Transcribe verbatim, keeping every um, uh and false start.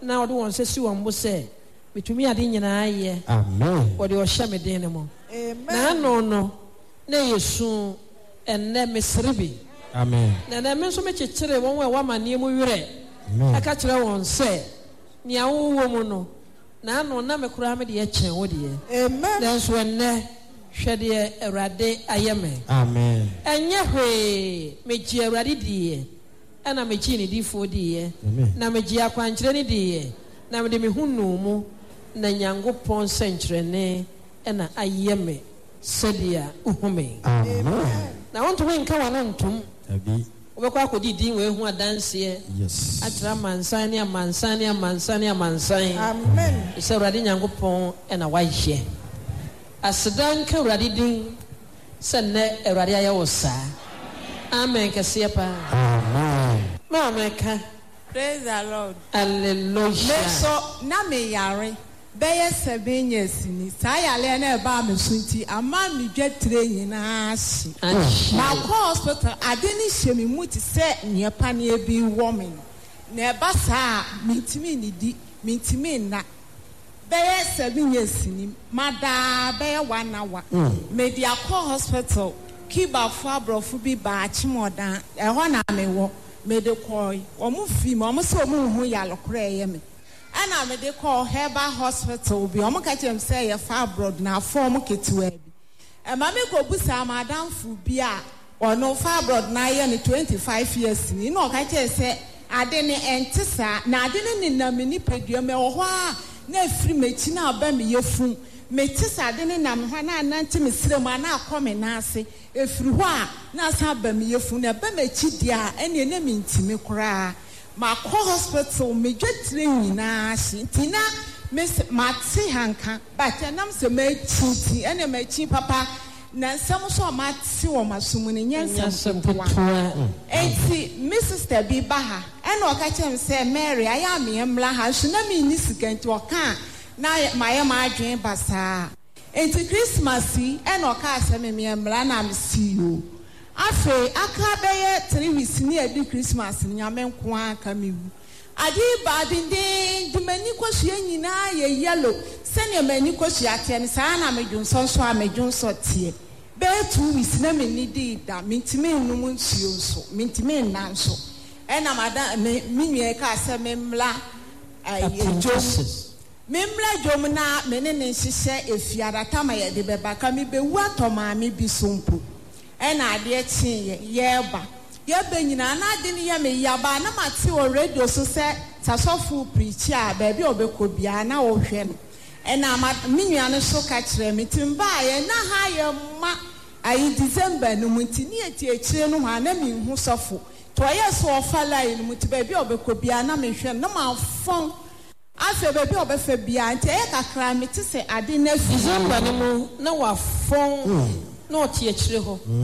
Na wɔde wɔn nsa si wɔn bo sɛ, Metumi ade nyinaa yɛ. Amen. Wɔde ɔhyɛ me den no mu. Amen. Na ano no, na ɛyɛ su. Ɛnnɛ, mesere bi. Amen. Na ɛnnɛ, me nso mekyekyere wɔn a ɛwɔ amanneɛ mu werɛ. Amen. Ɛka kyerɛ wɔn sɛ, nea wowɔ mu no, na ano na me koraa me deɛ kyɛn wo deɛ. Amen. Nanso ɛnnɛ, hwɛ deɛ Awurade ayɛ me. Amen. Ɛnyɛ hwee, megyee Awurade diiɛ, ɛna megyee ne difoɔ diiɛ, Amen. na megyee akwankyerɛ no diiɛ, na mede me ho nuu mu, na Nyankopɔn nsɛnkyerɛnne ɛna ayɛ me sɛdeɛ wohu me. Amen. Na wontumi nka w'ano ntom. Dabi. Wobɛkɔ akɔdi din wei ho adanseɛ Yes. akyerɛ amansan ne amansan ne amansan ne amansan Amen. sɛ Awurade Nyankopɔn ɛna wayɛ. Aseda nka Awurade din sɛ nnɛ Awurade ayɛ wo saa. Amen kɛseɛ paa. Amen. Maame ka. Praise the Lord. Hallelujah. Me nso na me yare bɛyɛ seven years ni. Saa yareɛ no ɛbaa me so nti ama me dwetire nyinaa hye. Ahye. Makɔ hospital, ade no hyɛ me mu te sɛ nea paneɛ bi wɔ me no. Na ɛba saa a, mentumi nnidi, mentumi nna. Bɛyɛ seven years ni, madaa bɛyɛ one hour. Mede akɔ hospital, Cubafo aborɔfo bi baa Akyemɔdan, ɛhɔ na mewɔ. Mede kɔe, wɔn fi mu, wɔn sɛ wɔn nhu yare korɔ a ɛyɛ me. Ɛna mede kɔɔ Herbal Hospital bi, wɔn ka kyerɛ me sɛ ɛyɛ fibroid na afɔm ketewa bi. Ɛma me kɔ busaa m'adamfo bi a ɔno fibroid na ayɛ no twenty five years ni, na ɔka kyerɛ sɛ ade no ɛnte saa, na ade no nenam me nipadua mu, ɛwɔ hɔ a na efiri m'akyi na aba me yafun. Mete sɛ ade no nam hɔ a na anante me srɛ mu a na akɔ me nan ase. Efiri hɔ a na asan aba me yafun, na ɛba m'akyi deɛ a ɛneɛ na mentimi koraa. Makɔ hospital, me dwetire nyinaa hye nti na me mate hanka, but ɛnam sɛ makyi nti ɛne makyi papa na nsɛm nso a mate wɔ m'aso mu no nyɛ nsɛm ketewa. Enti me sister bi ba ha ɛna ɔka kyerɛ me sɛ Mary ayɛ a meɛ mmra ha, nso na menni sika nti ɔka a na mayɛ m'adwene basaa. Enti Christmas yi ɛna ɔkaa sɛ me meɛ mmra na mesi o. Afei aka bɛyɛ three weeks ne adi Christmas no, Nyame nko ara ka me wu. Ade yi baa dendenden, m'ani kosua nyinaa yɛ yellow. Sɛnea m'ani kosua teɛ no, saa na medwonsɔ nso a medwonsɔ teɛ. Bɛyɛ two weeks na menni dii da, mentumi nnom nsuo nso, mentumi nna nso. Ɛna madam me me nua yi kaa sɛ memmra ɛyɛ dwom. Memmra dwom na me ne ne nhyehyɛ efiada tama yɛde bɛba ka mebɛwu atɔ maame bi so mpo. Ɛna adeɛ kyeeɛ yɛreba. Yɛbɛ nyinaa na ade no yɛ me yaba na mate wɔ radio so sɛ sasɔfo preach a baabi a ɔbɛkɔ biara na wɔhwɛ no. Ɛna ma me nua no so ka kyerɛ me nti mbaeɛ na ha yɛ ma ayi December no mu nti ne yɛte akyire no hɔ a na menhu sɔfo. Nti ɔyɛɛ sɛ ɔfa line no mu nti baabi a ɔbɛkɔ biara na mehwɛ no na mafɔn. Afei baabi a ɔbɛfa biara nti ɛyɛ kakra mete sɛ ade no afi. December no mu na wafɔn na ɔte akyire hɔ.